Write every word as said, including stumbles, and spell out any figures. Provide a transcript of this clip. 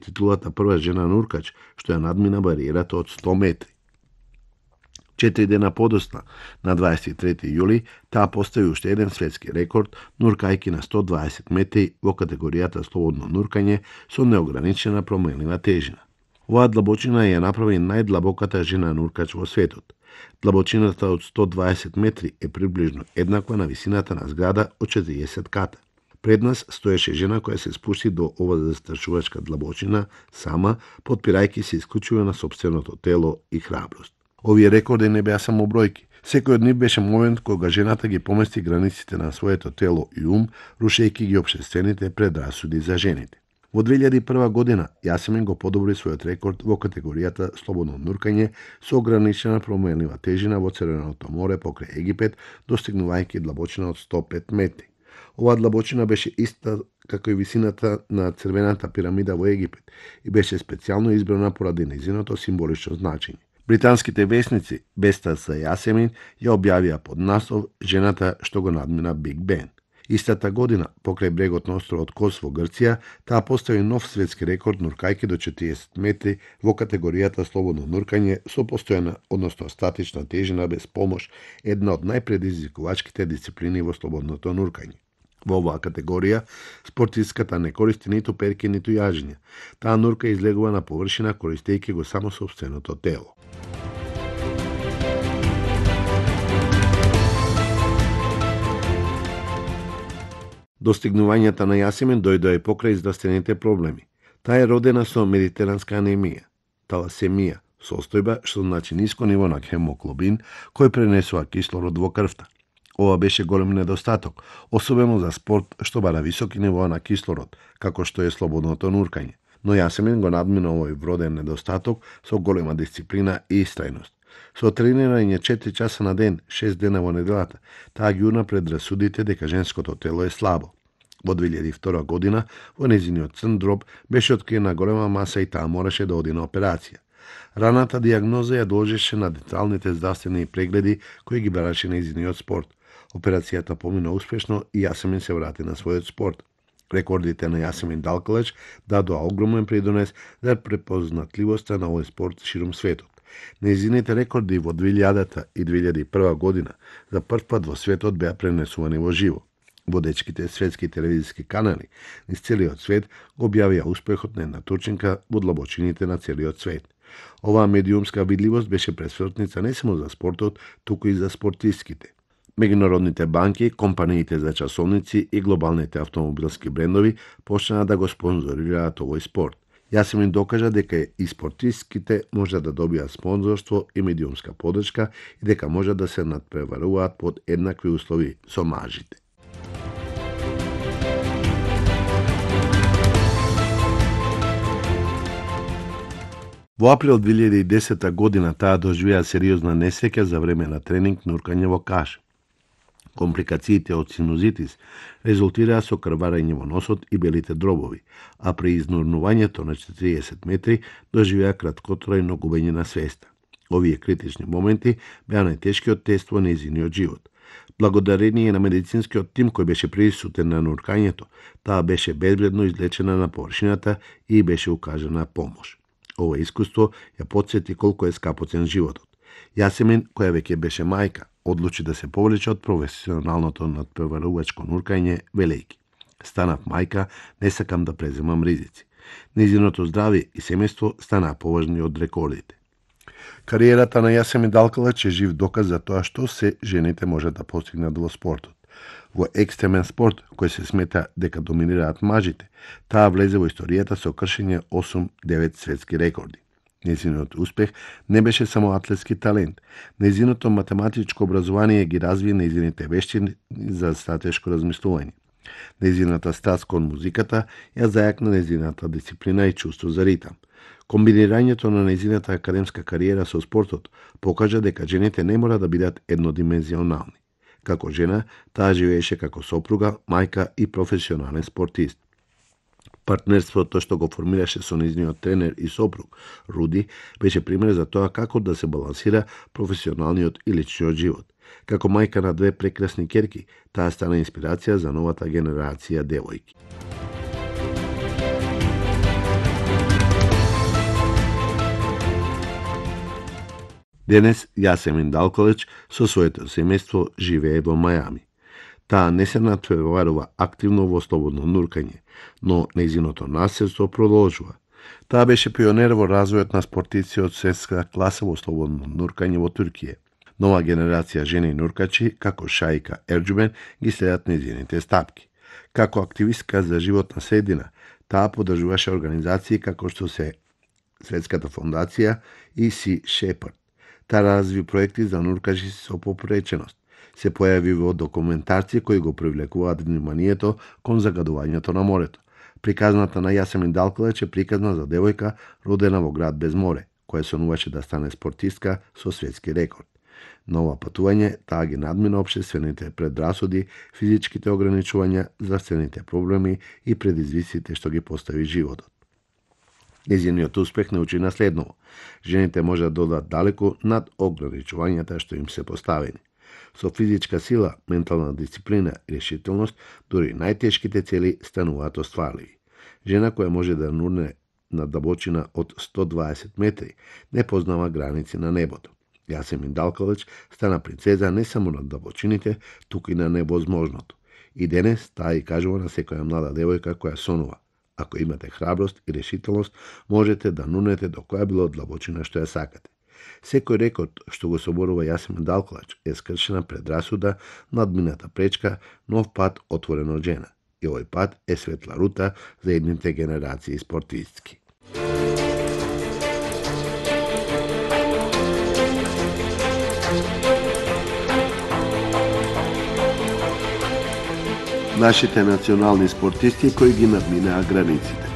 титулата прва жена нуркач, што ја надмина бариерата од сто метри. Четири дена подоцна, на дваесет и трети јули, таа постави уште еден светски рекорд, нуркајки на сто дваесет метри во категоријата слободно нуркање со неограничена променлива тежина. Оваа длабочина ја направи најдлабоката жена нуркач во светот. Длабочината од сто дваесет метри е приближно еднаква на висината на зграда од четириесет ката. Пред нас стоеше жена која се спушти до ова застрашувачка длабочина сама, подпирајќи се исклучиво на собственото тело и храброст. Овие рекорди не беа само бројки. Секој од нив беше момент кога жената ги помести границите на своето тело и ум, рушејќи ги општествените предрасуди за жените. Во две илјади и прва година Јасемин го подобри својот рекорд во категоријата слободно нуркање со ограничена променлива тежина во Црвеното море покрај Египет, достигнувајќи длабочина од сто пет метри. Оваа длабочина беше иста како и висината на Црвената пирамида во Египет и беше специјално избрана поради нејзиното символично значење. Британските весници, Беста за Јасемин, ја објавија под наслов "Жената што го надмина Биг Бен". Истата година, покрај брегот на островот Кос во Грција, таа постави нов светски рекорд нуркајки до четириесет метри во категоријата слободно нуркање со постојана, односно статична тежина без помош, една од најпредизвикувачките дисциплини во слободното нуркање. Во оваа категорија, спортистката не користи ниту перки, ниту јажења. Таа нурка излегува на површина користејќи го само собственото тело. Достигнувањата на Јасемин дојдоа и покрај здравствените проблеми. Таа е родена со медитеранска анемија, таласемија, состојба што значи ниско ниво на хемоглобин кој пренесува кислород во крвта. Ова беше голем недостаток, особено за спорт што бара високи нивоа на кислород, како што е слободното нуркање. Но Јасемин го надмина овој вроден недостаток со голема дисциплина и истрајност. Со тренирање четири часа на ден, шест дена во неделата, таа ги урна предрасудите дека женското тело е слабо. Во две илјади и втора година, во нејзиниот црн дроб, беше откриена голема маса и таа мораше да оди на операција. Раната диагноза ја должеше на деталните здравствени прегледи кои ги бараше нејзиниот спорт. Операцијата помина успешно и Јасемин се врати на својот спорт. Рекордите на Јасемин Далкалач дадоа огромен придонес за препознатливоста на овој спорт ширум светот. Нејзините рекорди во две илјадата и две илјади и прва година за прв пат во светот беа пренесувани во живо. Водечките светски телевизиски канали низ целиот свет го објавија успехот на една турчинка во длабочините на целиот свет. Оваа медиумска видливост беше пресвртница не само за спортот, туку и за спортистките. Меѓународните банки, компаниите за часовници и глобалните автомобилски брендови почнаа да го спонзорираат овој спорт. Јасемин докажа дека и спортистките може да добијат спонзорство и медиумска подршка и дека може да се надпреваруваат под еднакви услови со мажите. Во април две илјади и десета година таа доживеа сериозна несреќа за време на тренинг нуркање во Каш. Компликациите од синузитис резултираа со крварење во носот и белите дробови, а при изнурнувањето на четириесет метри доживеа краткотрајно губење на свеста. Овие критични моменти беа најтешкиот тест во нејзиниот живот. Благодарение на медицинскиот тим кој беше присутен на нуркањето, таа беше безбедно излечена на површината и беше укажана помош. Ова искуство ја потсети колку е скапоцен животот. Јасемин, која веќе беше мајка, одлучи да се повлече од професионалното надпреварувачко нуркање, велејќи: "Станав мајка, не сакам да преземам ризици." Нејзиното здравје и семејство станаа поважни од рекордите. Кариерата на Јасемин Далкалач е жив доказ за тоа што се жените можат да постигнат во спортот. Во екстремен спорт, кој се смета дека доминираат мажите, таа влезе во историјата со кршење осум-девет светски рекорди. Нејзиниот успех не беше само атлетски талент. Нејзиното математичко образование ги разви нејзините вештини за стратешко размислување. Нејзината страст кон музиката ја зајакна нејзината дисциплина и чувство за ритам. Комбинирањето на нејзината академска кариера со спортот покажа дека жените не мора да бидат еднодимензионални. Како жена, таа живееше како сопруга, мајка и професионален спортист. Партнерството што го формираше со нејзиниот тренер и сопруг, Руди, беше пример за тоа како да се балансира професионалниот и личниот живот. Како мајка на две прекрасни ќерки, таа стана инспирација за новата генерација девојки. Денес Јасемин Далкалич со своето семејство живее во Мајами. Таа не се натпреварува активно во слободно нуркање, но нејзиното наследство продолжува. Таа беше пионер во развојот на спортици од светска класа во слободно нуркање во Туркија. Нова генерација жени нуркачи, како Шаика Ерџубен, ги следат нејзините стапки. Како активистка за животна средина, таа поддржуваше организации како што се Светската фондација и Sea Shepherd. Таа разви проекти за нуркачи со попреченост. Се појави во документарци кои го привлекуваат вниманието кон загадувањето на морето. Приказната на Јасемин Далкалич е приказна за девојка родена во град без море, која сонуваше да стане спортистка со светски рекорд. На ова патување таа ги надмина општествените предрасуди, физичките ограничувања, здравствените проблеми и предизвиците што ги постави животот. Нејзиниот успех не учи на следново. Жените може да додат далеку над ограничувањата што им се поставени. Со физичка сила, ментална дисциплина и решителност, дури најтешките цели стануваат остварливи. Жена која може да нурне на длабочина од сто дваесет метри, не познава граници на небото. Јасемин Далкалич стана принцеза не само на длабочините, туку и на невозможното. И денес таа и кажува на секоја млада девојка која сонува. Ако имате храброст и решителност, можете да нунете до која било длабочина што ја сакате. Секој рекорд што го соборува Јасемин Далкалич е скршена предрасуда, надмината пречка, нов пат отворен од жена. И овој пат е светла рута за едните генерации спортистки. Нашите национални спортисти кои ги надминаа границите.